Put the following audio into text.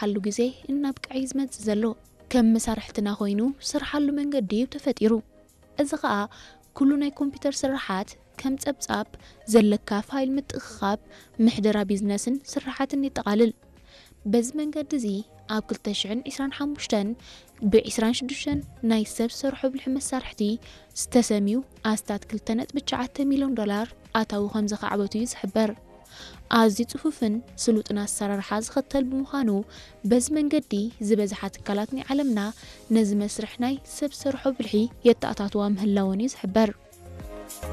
ዝስርሓሉ ግዜ እናብቅዐ እዩ ዝመጽእ ዘሎ። ከም መሳርሕትና ኮይኑ ዝስርሓሉ መንገዲ እዩ ተፈጢሩ። እዚ ኸኣ ኩሉ ናይ ኮምፒውተር ስርሓት ከም ጸብጻብ ዘለካ ፋይል ምትእኽኻብ፣ ምሕደራ ቢዝነስን ስርሓትን የጠቓልል። በዚ መንገዲ እዚ ኣብ ክልተ ሽሕን ዕስራን ሓሙሽተን ብ ዕስራን ሽዱሽተን ናይ ሰብ ሰርሖ ብልሒ መሳርሕቲ ዝተሰምዩ ኣስታት ክልተ ነጥቢ ትሽዓተ ሚልዮን ዶላር ኣታዊ ከም ዘኻዕበቱ እዩ ዝሕበር። ኣዝዩ ጽፉፍን ስሉጥን ኣሰራርሓ ዝኸተል ብምዃኑ በዚ መንገዲ ዝበዝሓ ትካላት ናይ ዓለምና ነዚ መስርሕ ናይ ሰብ ሰርሖ ብልሒ የተኣታትዋ ምህላወን እዩ ዝሕበር።